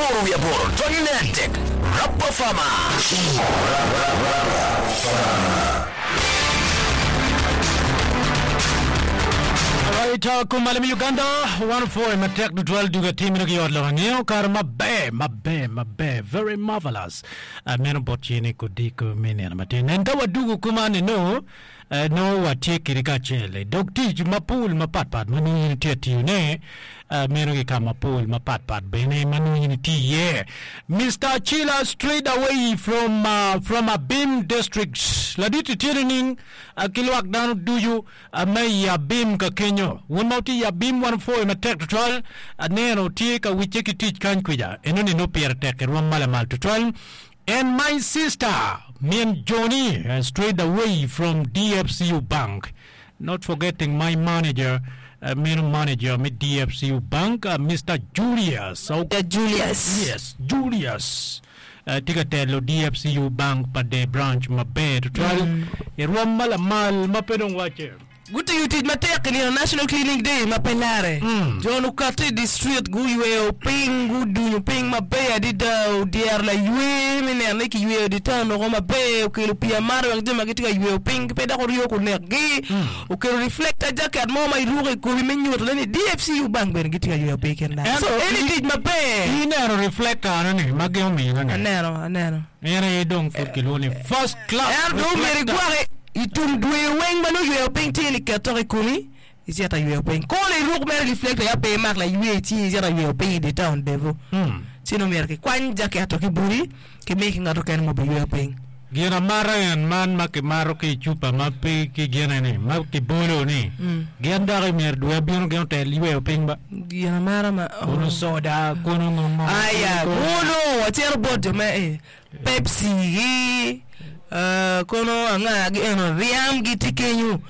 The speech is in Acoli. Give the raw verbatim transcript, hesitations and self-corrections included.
Aboro wi aboro tonyne adek Rapa Farmer. Alright, uh, kumalo mi Uganda wan opwoyo matek tutwal duga timino ki ot lok angeyo kare maber maber maber very marvelous uh, meno bot cene kodiko me nino matin en ka wadugo kuma ni no uh, no watye kidi kacel i dog tic mapol mapatpat ma nongo in itye tiyone uh, meno ki ka mapol mapatpat bene ma nongo in itye iye Mr. Chila straight away from uh, from Abim district ladit itye nining uh, ki lwak dano ducu uh, me i Abim ka kenyo wun ma wutye i Abim wan opwoyo matek tutwal aneno tye ka wicce ki tic kany kwija enoni no pire tek i rwom ma lamal tutwal and my sister min Johnny uh, straight away from DFCU Bank not forgetting my manager uh, meno manager me DFCU Bank uh, Mr. Julius Yeah, Julius. Yes, Julius. Uh, tye ka telo DFCU Bank pa de branch maber tutwal i rwom ma lamal ma pe dong wacce Gutiyo tic matek i nino National Cleaning Day ma pe lare. Jo okati i district guyweyo piny gudunyo piny maber adada odyero laywe me neno ni kiyweyo di town oko maber okelo pii amata wek jo ma gitye ka yweyo piny pe dok oryo kunekgi okelo reflector jacket mo ma iruko i komi me nyuto ni DFCU Bank bene gitye ka yweyo piny kin dano. So eni tic maber. Ineno reflector ni ma gin omiyo ni Aneno aneno. en aye dong pud kilwongo ni first class En dong myero reflector. igwoke i tum dwe weng ma nongo yweyo piny tye ni ket tok i komi icito ayweyo piny kono iruk mere reflector ya pe imak laywe i cingi icito ayweyo piny i di town devo Mm. ci nongo myero kikwany jaket ki boti kimi ki ngat okene mo biyweyo piny Gin amata en man ma kimato ki i cupa ma pe ki gine ni ma kibolo ni gin dok i myero dwe bino gin otel yweyo piny ba gin amata ma kono soda kono ngo aya kono wacito bot jo me eh, Pepsi gi eh, kono anga gi eno ryam gi tye kenyo